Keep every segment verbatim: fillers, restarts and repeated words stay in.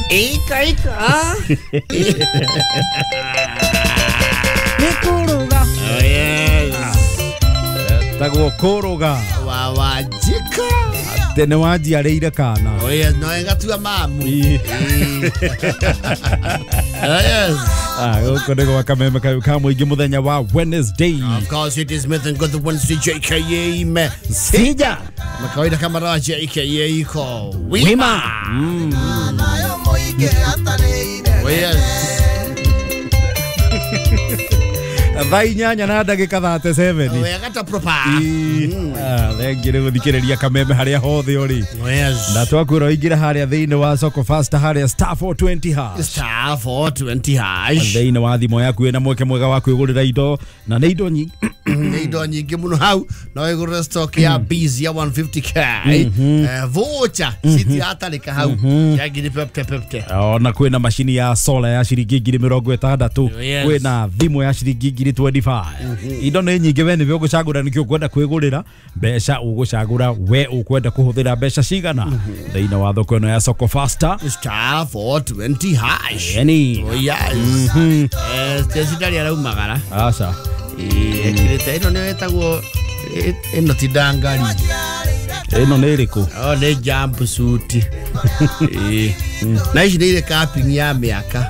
Ika ika. Nikuruga. Oh yes. Tagwo kuruga. Wa wajika. Tene wanjiarĩire kana. Oh yes, no ngatua mamu. Oh yes. Ah, gũkũ nĩ gwa Kameme kayu ka mũingĩ mũthenya wa Wednesday. Of course it is Smith and Good Wednesday J K A me. Sija. Makawaida kama raha J K A iko wima. Mm. Oh yes. Thaa inyanya na ndagĩka thate seven. Wega ta proper. Ah, thengi nĩ gũthikĩrĩria Kameme harĩa hothe ũrĩ. Oh yes. Na twakwĩra ũingĩre harĩa thĩinĩ wa Soko Fast harĩa star four twenty hash. Star four twenty hash. Thĩinĩ wa thimũ yaku wĩna mweke mwega wa kwĩgũrĩra indo na nĩ indo nyingĩ. Nĩ indo nyingĩ mũno hau no wĩgũrĩre stock ya bees ya one fifty k. Eh, voucher citiratarĩka hau ya ngiri pepte pepte. Ona kwĩna macini ya solar ya ciringi ngiri mĩrongo ĩtandatũ. Kwĩna thimũ ya ciringi ngiri twenty-five. Indo nĩ nyingĩ we nĩwe ũgũcagũra nĩkĩ ũkwenda kwĩgũrĩra mbeca ũgũcagũra we ũkwenda kũhũthĩra mbeca cigana thĩinĩ wa thoko ĩno ya Soko Faster star four twenty hash. Yani. Oh yes. Eh, Stacy araumagara. Aca. Ĩkĩrĩte ĩno nĩyo ĩtagwo ĩno ti ndangari. Ĩno nĩ ĩrĩkũ? Oh, nĩ jumpsuit. Eh. Na ici nĩ irĩ capping ya mĩaka.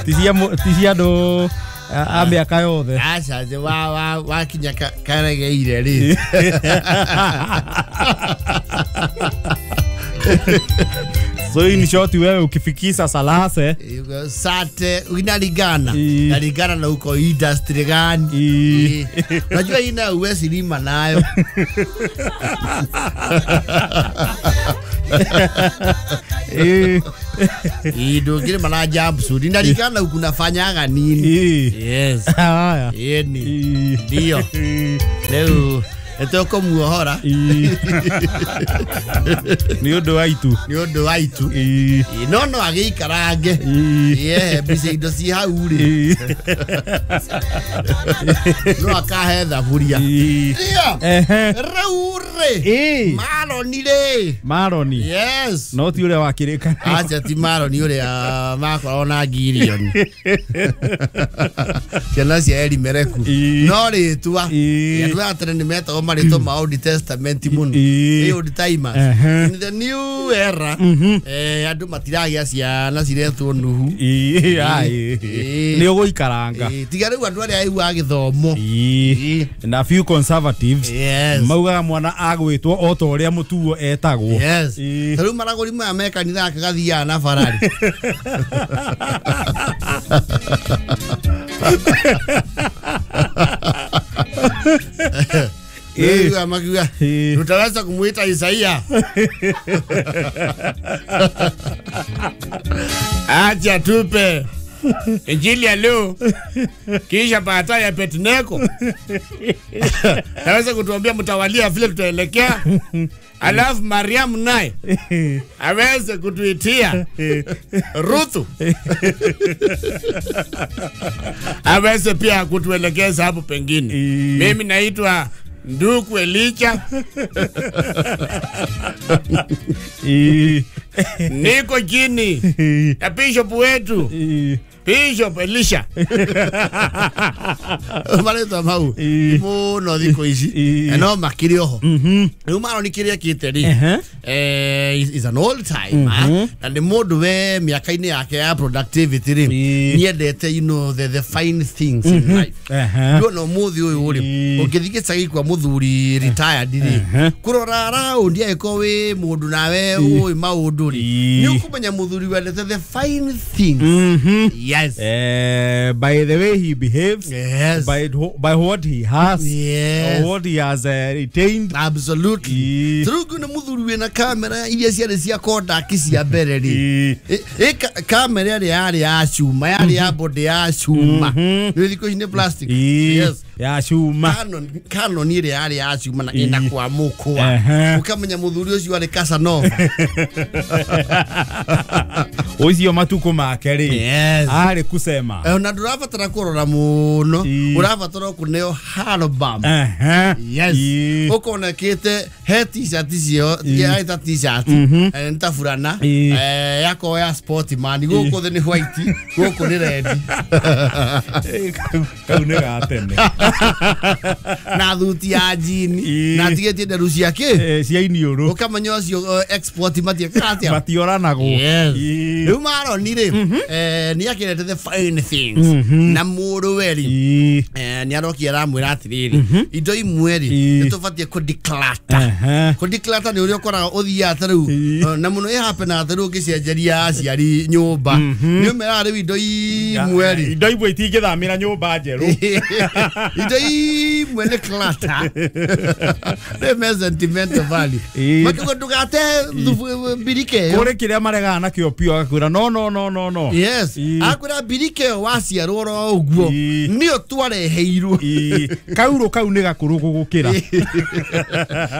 Ti cia andũ a mĩaka yothe. Aca, wa wa wakinya karegeire rĩ. So in short wewe ukifikisha salase sate inalingana inalingana na uko industry gani. Unajua ina uwezi lima nayo. Eh, indo ngire mana jumpsuit inalingana ukunafanyaga nini. Yes. Haya. Yeni. Ndio. Leo etoko muohora. Ni undu wa itu. Ni undu wa itu. No no agĩikarange. Ye mbica indo ci hau rĩ. No akahe thaburia. Ndio. Rĩu rĩ. Maroni rĩ. Maroni. Yes. No ti ũrĩa wakĩrĩka. Acha ti Maroni ũrĩa makoragwo na ngirioni. Ciana cia Elimereku. No rĩtwa. Andũ aya tene nĩ metagwo marĩtwa ma Old Testament mũno. Ĩ old timers. In the new era eh andũ matiragĩa ciana ciretwo Nuhu. Nĩ ũgũikaranga. Tiga rĩu andũ arĩa aiguaga gĩthomo. Na few conservatives yes maugaga mwana agwĩtwo o ta ũrĩa mũtuo etagwo. Yes. Ta rĩu maragũri maya me kanitha agathiaga na Ferrari. Eh, makiwa tutaweza kumuita Isaia. Acha tupe Injili ya leo kisha baadaye ya Petneko. Naweza kutuambia mtawalia vile tutaelekea. Alafu Mariam naye aweze kutuitia Ruthu. Aweze pia kutuelekeza hapo pengine. Mimi naitwa Nduku Elicha. Niko chini ya bishop wetu Bishop Elisha. Marĩtwa mau mũno thikũ ici no makĩrĩ oho. Rĩu Maroni kĩrĩa ekĩte rĩ, eh is an old timer na nĩ mũndũ we mĩaka-inĩ yake ya productivity rĩ niendete you know the the fine things in life. Ndona ũmũthĩ ũyũ rĩ ũngĩthiĩ gĩcagi kwa mũthuri retired rĩ kũrora round angĩkorwo wĩ mũndũ nawe ũĩ maũndũ rĩ nĩ ũkũmenya mũthuri wendete the fine things. Yes. Uh, by the way he behaves, yes. by by what he has, yes. what he has uh, retained. Absolutely. Through na muthuri wina kamera iria ciarĩ cia Kodak cia mbere rĩ. Ĩ kamera ĩrĩa yarĩ ya cuma, yarĩ ya body ya cuma. Nĩ thikũ ici nĩ plastic. Yes. Ya cuma. Canon Canon ĩrĩa yarĩ ya cuma na ĩna kwa mũkwa. Ũkamenya mũthuri ũcio arĩ Casanova. Ũcio matukũ make rĩ. Yes. Arĩ kusema. Eh, na ndũrabatara kũrora mũno. Ũrabatara kũneo album. Yes. Ũkona kĩte he t-shirt icio yaita t-shirt eh nta furana eh yako ya sport man gũkũ thĩ nĩ white gũkũ nĩ red. Kau nĩ ga tene. Na thuti ya jean na tigĩtie nderu ciake cia iniũrũ. Ũkamenya ũcio export matiekaga matioranagwo. Yes. Rĩu Maroni rĩ eh nĩ akĩrete the fine things na mũrũwe rĩ eh nĩ arokia aramwĩra atĩrĩrĩ indo imwe rĩ nĩ tũbatiĩ kũ declutter. Kũ declutter nĩ ũrĩa ũkoraga ũthiaga ta rĩu na mũno ĩ happen atĩ rĩu ũngĩcenjeria aciari nyũmba nĩ ũmeraga rĩu indo imwe rĩ indo imwe itingĩthamĩra nyũmba njerũ. Indo imwe nĩ clutter. Nĩ me sentimental value. Makiuga ndũgate mbirike ĩyo. Kũrĩ kĩrĩa maregaga nakĩo piũ agakwĩra no no no no no. Yes. Akwĩra mbirike ĩyo waciarwo oro ũguo nĩyo twareheirwo. Kaurũ kau nĩ gakũrũ gũgũkĩra.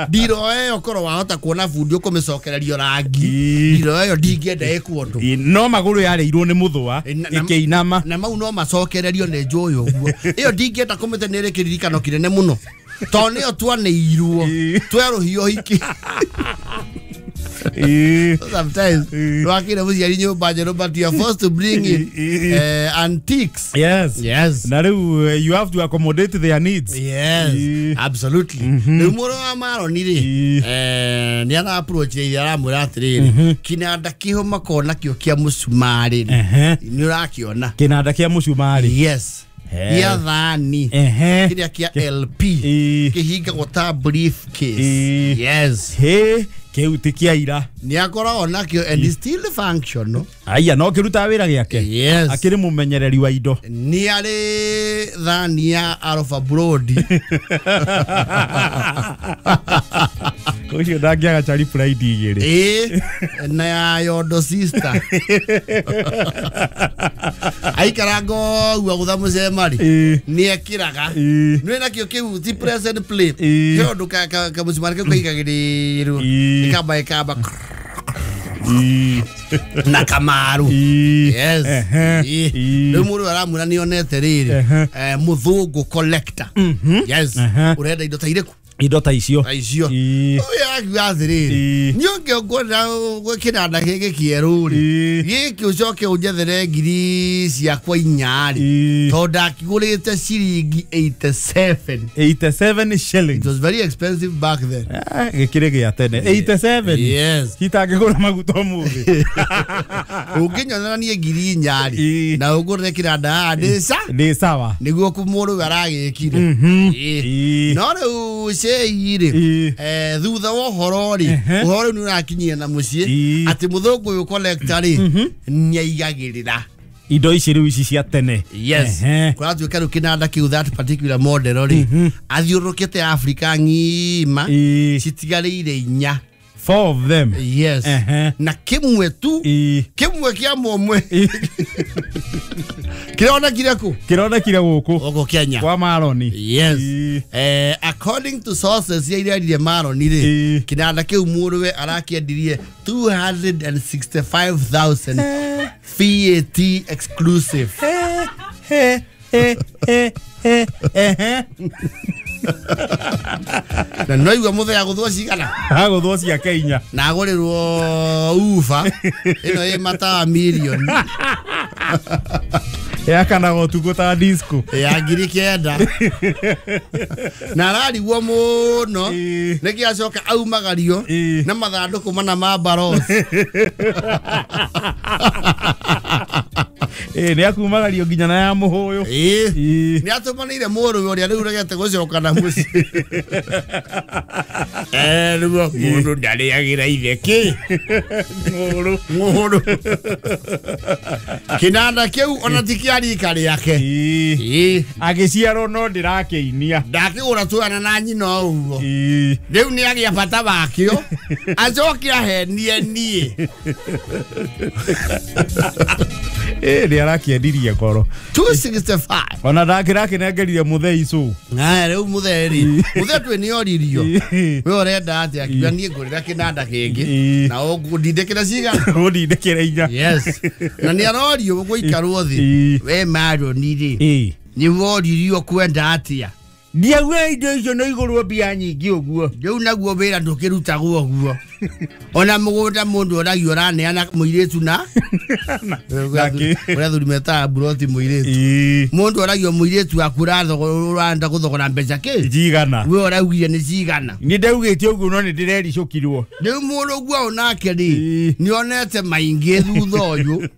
Ndiro ĩyo korwo wahota kuona bundi ũkũmĩcokererio rangi. Ndiro ĩyo ndingĩenda ĩkwo ũndũ. No magũrũ yarĩirwo nĩ mũthũa ĩkĩinama. Na mau no macokererio nĩ njũĩ ũguo. Ĩyo ndingĩenda kũmĩte nĩ ĩrĩ kĩririkano kĩnene mũno. Tondũ nĩyo twanĩirwo twerũhio hiki. Sometimes wakira mũciari nyũmba njerũ but you are forced to bring in uh, antiques. Yes. Yes. Na rĩu you have to accommodate their needs. Yes. Absolutely. Rĩu mũrũ wa Maroni rĩ eh nĩ ara approach ithe aramwĩra atĩrĩrĩ kinanda kĩho makona kĩo kĩa mũcumarĩ nĩ ũrakĩona kinanda kĩa mũcumarĩ. Yes. Ya thani kĩrĩa kĩa L P kĩhingagwo ta briefcase. Yes. He kĩu ti kĩa ira. Nĩ akoragwo nakĩo and is still functional. Aya no kĩrutaga wĩra gĩake. Yes. Akĩrĩ mũmenyereri wa indo. Nĩ arĩ thani ya Alpha Brody. Ũcio ndangĩaga Charlie Pride igĩrĩ. Ĩĩ na ya Yondo sister. Aikaranga ũguo gũtha mũcemari nĩ ekĩraga. Nĩ nakĩo kĩu ti press and play. He ũndũ kamũcumari kau kaigagĩrĩrwo ĩkamba ĩkamba na kamaru. Yes. Rĩu mũndũ aramwĩra nĩ onete rĩrĩ mũthũngũ collector. Yes. Ũrenda indo ta irĩkũ? Indo ta icio. Ta icio. Ũyũ akiuga atĩrĩrĩ niĩ ũngĩonguonera kĩnanda gĩkĩ kĩerũ rĩ gĩkĩ ũcoke ũnjethere ngiri ciakwa inya rĩ tondũ ndakĩgũrĩte ciringi eighty-seven. eighty-seven shillings. It was very expensive back then. Gĩkĩrĩ gĩa tene. eighty-seven. Yes. Itangĩgũra maguta ũmũthĩ. Ũngĩnyonera niĩ ngiri inya rĩ na ũngũrĩre kĩnanda haha ndĩ sa ndĩ sawa nĩguo mũrũwe aragĩkire. No rĩu ire eh thutha wa ũhoro rĩ ũhoro nĩ ũrakinyia na mũciĩ atĩ mũthũngũ ũyũ collector rĩ nĩ aigagĩrĩra indo ici rĩu ici cia tene. Yes. Kũratuĩka rĩu kĩnanda kĩu that particular model rĩ athiũrũrũkĩte Africa ng'ima citigarĩire inya. Four of them. Yes. Na kĩmwe tu kĩmwe kĩa mũmwe kĩronekire kũ? Kĩronekire gũkũ. Gũkũ Kenya. Kwa Maroni. Yes. Eh, according to sources iria iraririe Maroni rĩ kĩnanda kĩu mũrũwe arakĩendirie two hundred and sixty-five thousand V A T exclusive. He he he he he. Na no igua mũthenya gũthwo cigana? Agũthwo ciake inya. Na agũrĩrwo ufa ĩno ĩ matawa mirioni. Yakanaga ũtukũ ta disco. Ya ngiri kenda. Na ararigwo mũno nĩkĩ acoka aumagario na mathandũkũ mana ma baros. Eh nĩ akumagario nginya na ya mũhũyũ. Ĩĩ. Nĩ atũmanĩire mũrũwe ũrĩa rĩu ũregete gũcoka na mũciĩ. Eh rĩu mũndũ ndarĩagĩra ithe kĩ? Ng'ũrũ. Ng'ũrũ. Kĩnanda kĩu ona ti kĩa rika rĩake. Ĩĩ. Agĩciarwo no ndĩrakĩinia. Ndakĩgũra twana na nyina ũguo. Ĩĩ. Rĩu nĩ agĩa bata wakĩo. Acoke ahenie niĩ. Eh nĩ arakĩendirie ngoro two sixty-five ona ndakĩrakinengerire mũthei cu aya rĩu mũtheri mũthei twĩ nĩ oririo we ũrenda atĩa akiuga niĩ ngũrĩra kĩnanda kĩngĩ na ũngũndindĩkĩra cigana ũndindĩkĩra inya yes na nĩ arorio gũikarwo thĩ we Maroni rĩ nĩ woririo kwenda atĩa ndiauga indo icio no igũrwo mbia nyingĩ ũguo rĩu naguo wĩra ndũkĩrutagwo ũguo ona mũgũnda mũndũ oragio ũraneana mũirĩtu na ũrĩa thuri metaga mburoti mũirĩtu mũndũ oragio mũirĩtu waku ũrenda gũthogora mbeca kĩ njigana we ũraugire nĩ cigana nĩ ndaugĩte ũguo no nĩ ndĩrericũkirwo rĩu mũndũ ũguo onake rĩ nĩonete maingĩ thutha ũyũ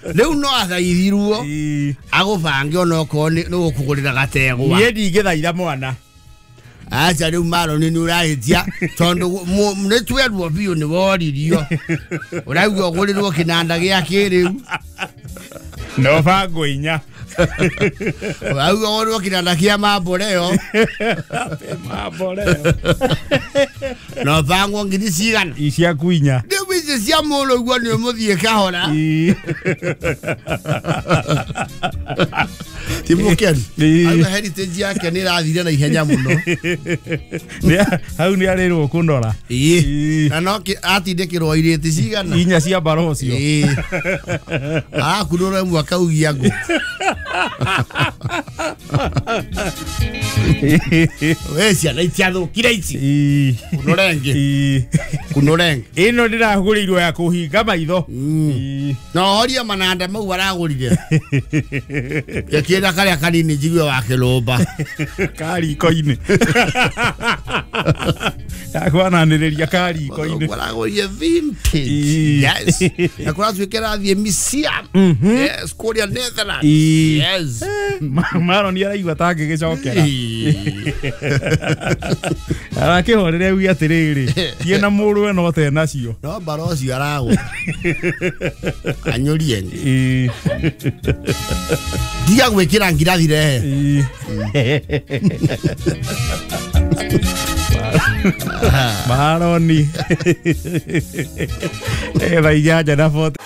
rĩu no athaithirwo agũbange onokorwo nĩ gũkũgũrĩra gategwa niĩ ndingĩthaitha mwana acha rĩu Maroni nĩ ũrahĩtia tondũ nĩ twerwo biũ nĩ woririo ũrauga ũgũrĩrwo kĩnanda gĩa kĩrĩu no bango inya ũrauga ũgũrĩrwo kĩnanda kĩa mamboreo mamboreo no bango ngiri cigana ciaku inya rĩu ici cia mũndũ ũguo nĩ ũmũthiĩ kahora ti mũkenu auga heritage yake nĩ ĩrathire na ihenya mũno hau nĩ arĩrwo kũnora na no atindĩkĩrwo irĩti cigana inya cia mbara ũcio akunũra ĩmwe akaugia ngũ we ciana itiathũkire ici kunũra ĩngĩ kunũra ĩngĩ ĩno ndĩragũrĩirwo ya kũhinga maitho na horia mananda mau aragũrire ĩkĩra karĩa kanini njigue wa kĩrũmba kariko-inĩ yakwananĩrĩria kariko-inĩ aragũrire vintage yes na kũratuĩka ĩrathiĩ museum yes kũrĩa Netherlands yes Maroni araigua ta angĩgĩcokera arakĩhorere auge atĩrĩrĩ thiĩ na mũrũwe no te nacio no mbara ũcio aragũra anyũrie ndiga gwĩkĩra ngirathi rehe Maroni thaa inyanya na forty.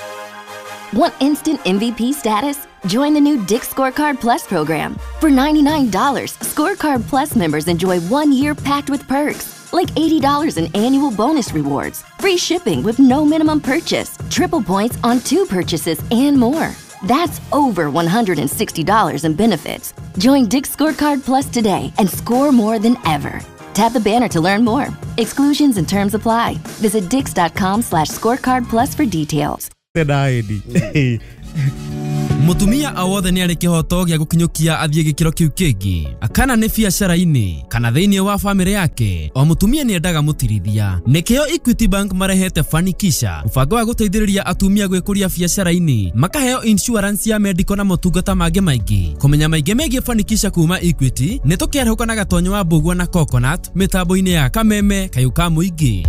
Want instant M V P status? Join the new Dick's Scorecard Plus program. For ninety-nine dollars, Scorecard Plus members enjoy one year packed with perks, like eighty dollars in annual bonus rewards, free shipping with no minimum purchase, triple points on two purchases, and more. That's over one hundred sixty dollars in benefits. Join Dick's Scorecard Plus today and score more than ever. Tap the banner to learn more. Exclusions and terms apply. Visit dicks.com slash scorecard plus for details. Mutumia o wothe nĩ arĩ kĩhoto gĩa gũkinyũkia athiĩ gĩkĩro kĩu kĩngĩ kana nĩ biacara-inĩ kana thĩinĩ wa famĩlĩ yake o mutumia nĩ endaga mũtirithia nĩkĩo Equity Bank marehete Fanikisha mũbango wa gũteithĩrĩria atumia gwĩkũria biacara-inĩ makaheo insurance ya medical na motungata mangĩ maingĩ kũmenya maingĩ megiĩ Fanikisha kuma Equity nĩ tũkĩarahũka na Gatonyo wa Mbũgua na Coconut mĩtambo-inĩ ya Kameme Kayũ ka Mũingĩ.